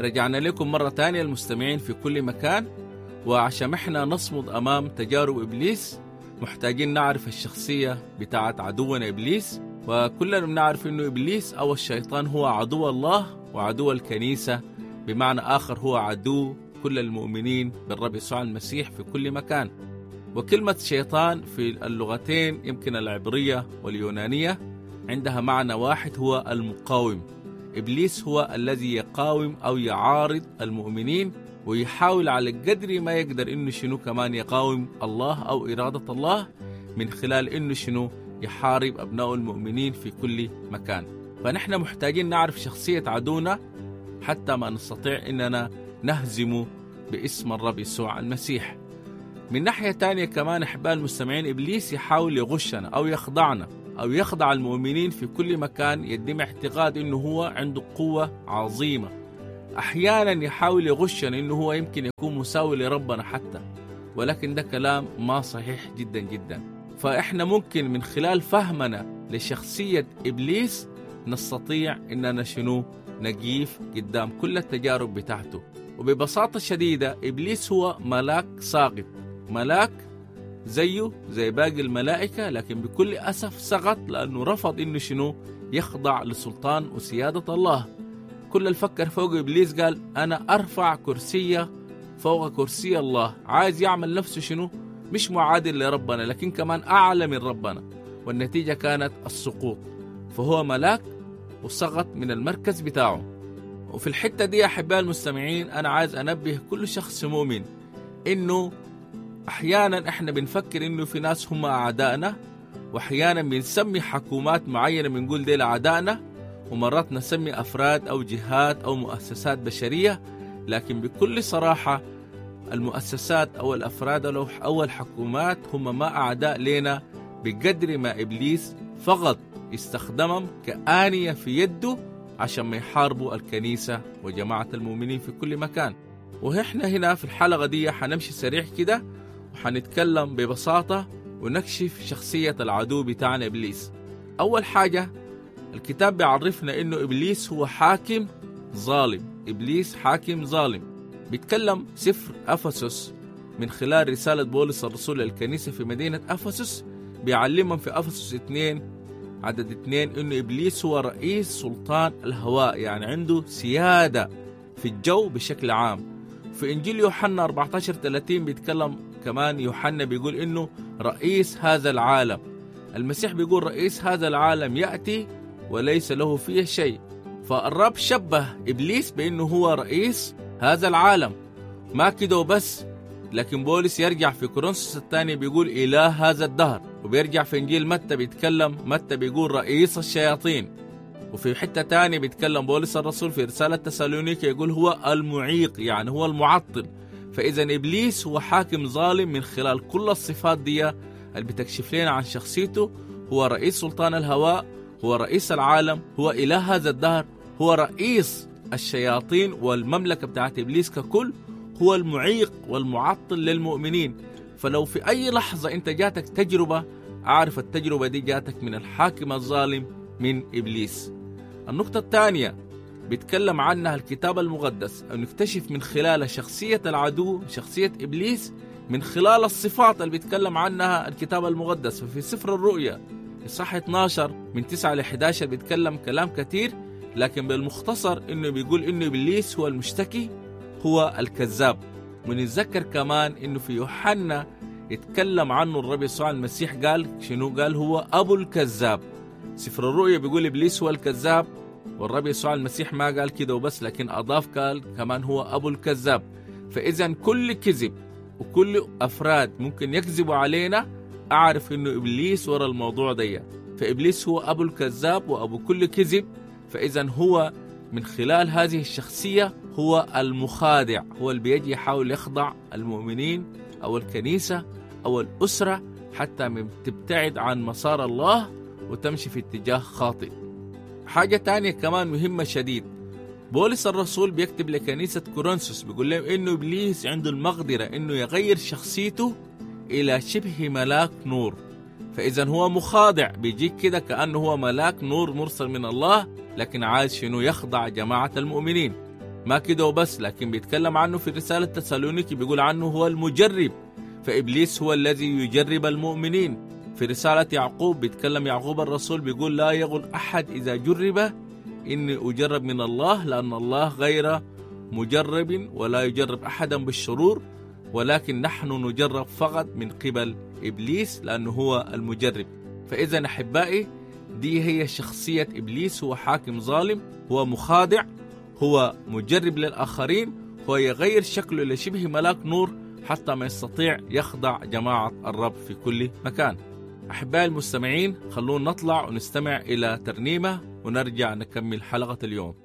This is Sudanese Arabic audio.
رجعنا لكم مرة تانية المستمعين في كل مكان، وعشان احنا نصمد أمام تجارب إبليس محتاجين نعرف الشخصية بتاعت عدونا إبليس. وكلنا بنعرف إنه إبليس أو الشيطان هو عدو الله وعدو الكنيسة، بمعنى آخر هو عدو كل المؤمنين بالرب يسوع المسيح في كل مكان. وكلمة شيطان في اللغتين يمكن العبرية واليونانية عندها معنى واحد، هو المقاوم. إبليس هو الذي يقاوم أو يعارض المؤمنين ويحاول على قدر ما يقدر إنه شنو كمان يقاوم الله أو إرادة الله من خلال إنه شنو يحارب أبناء المؤمنين في كل مكان. فنحن محتاجين نعرف شخصية عدونا حتى ما نستطيع إننا نهزمه باسم الرب يسوع المسيح. من ناحية تانية كمان أحباء المستمعين، إبليس يحاول يغشنا أو يخضعنا أو يخضع المؤمنين في كل مكان، يدم اعتقاد إنه هو عنده قوة عظيمة. أحيانا يحاول يغشنا إنه هو يمكن يكون مساوي لربنا حتى، ولكن ده كلام ما صحيح جدا جدا. فإحنا ممكن من خلال فهمنا لشخصية إبليس نستطيع إننا شنو نقيف قدام كل التجارب بتاعته. وببساطة شديدة إبليس هو ملاك ساقط، ملاك زيه زي باقي الملائكة، لكن بكل أسف سقط لأنه رفض إنه شنو يخضع لسلطان وسيادة الله. كل الفكر فوق إبليس قال أنا أرفع كرسية فوق كرسي الله، عايز يعمل نفسه شنو مش معادل لربنا لكن كمان أعلى من ربنا، والنتيجة كانت السقوط. فهو ملاك وسقط من المركز بتاعه. وفي الحتة دي يا أحباء المستمعين أنا عايز أنبه كل شخص مؤمن إنه أحيانا إحنا بنفكر إنه في ناس هم أعدائنا، وأحيانا بنسمي حكومات معينة بنقول ديل أعدائنا، ومرات نسمي أفراد أو جهات أو مؤسسات بشرية، لكن بكل صراحة المؤسسات أو الأفراد أو الحكومات هم ما أعداء لنا بقدر ما إبليس فقط يستخدمهم كآنية في يده عشان ما يحاربوا الكنيسة وجماعة المؤمنين في كل مكان. وإحنا هنا في الحلقة دي حنمشي سريع كده وحنتكلم ببساطة ونكشف شخصية العدو بتاعنا إبليس. أول حاجة الكتاب بيعرفنا إنه إبليس هو حاكم ظالم. إبليس حاكم ظالم. بيتكلم سفر أفسس من خلال رسالة بولس الرسول للكنيسة في مدينة أفسس، بيعلمهم في أفسس 2 عدد 2 إنه إبليس هو رئيس سلطان الهواء، يعني عنده سيادة في الجو بشكل عام. في إنجيل يوحنا 14:30 بيتكلم كمان يوحنا بيقول إنه رئيس هذا العالم. المسيح بيقول رئيس هذا العالم يأتي وليس له فيه شيء. فالرب شبه إبليس بأنه هو رئيس هذا العالم. ما كده وبس، لكن بولس يرجع في كورنثوس الثاني بيقول إله هذا الدهر، وبيرجع في إنجيل متى بيتكلم متى بيقول رئيس الشياطين. وفي حتة تانية بيتكلم بولس الرسول في رسالة تسالونيكي يقول هو المعيق، يعني هو المعطل. فإذا إبليس هو حاكم ظالم من خلال كل الصفات دي اللي بتكشف لنا عن شخصيته. هو رئيس سلطان الهواء، هو رئيس العالم، هو إله هذا الدهر، هو رئيس الشياطين والمملكة بتاعت إبليس ككل، هو المعيق والمعطل للمؤمنين. فلو في أي لحظة أنت جاتك تجربة، أعرف التجربة دي جاتك من الحاكم الظالم من إبليس. النقطة الثانية بيتكلم عنها الكتاب المقدس أو نكتشف من خلال شخصية العدو، شخصية إبليس، من خلال الصفات اللي بيتكلم عنها الكتاب المقدس. ففي سفر الرؤيا إصحاح 12 من 9 ل 11 بيتكلم كلام كثير، لكن بالمختصر إنه بيقول إنه إبليس هو المشتكي، هو الكذاب. ونتذكر كمان إنه في يوحنا يتكلم عنه الرب يسوع المسيح قال شنو؟ قال هو أبو الكذاب. سفر الرؤيا بيقول إبليس هو الكذاب، والرب يسوع المسيح ما قال كده وبس، لكن أضاف قال كمان هو أبو الكذاب. فإذا كل كذب وكل أفراد ممكن يكذبوا علينا، أعرف إنه إبليس ورا الموضوع ده. فإبليس هو أبو الكذاب وأبو كل كذب. فإذا هو من خلال هذه الشخصية هو المخادع، هو اللي بيجي يحاول يخضع المؤمنين أو الكنيسة أو الأسرة حتى تبتعد عن مسار الله وتمشي في اتجاه خاطئ. حاجة تانية كمان مهمة شديد، بولس الرسول بيكتب لكنيسة كورنثوس بيقول لهم إنه إبليس عنده المقدرة إنه يغير شخصيته إلى شبه ملاك نور. فإذا هو مخادع، بيجيك كده كأنه هو ملاك نور مرسل من الله، لكن عايز شنو؟ يخضع جماعة المؤمنين. ما كده وبس، لكن بيتكلم عنه في رسالة تسالونيكي بيقول عنه هو المجرب. فإبليس هو الذي يجرب المؤمنين. في رسالة يعقوب بيتكلم يعقوب الرسول بيقول لا يغل أحد إذا جرب إني أجرب من الله، لأن الله غير مجرب ولا يجرب أحدا بالشرور، ولكن نحن نجرب فقط من قبل إبليس لأنه هو المجرب. فإذا أحبائي، دي هي شخصية إبليس. هو حاكم ظالم، هو مخادع، هو مجرب للآخرين، هو يغير شكله لشبه ملاك نور حتى ما يستطيع يخدع جماعة الرب في كل مكان. أحبائي المستمعين، خلونا نطلع ونستمع إلى ترنيمة ونرجع نكمل حلقة اليوم.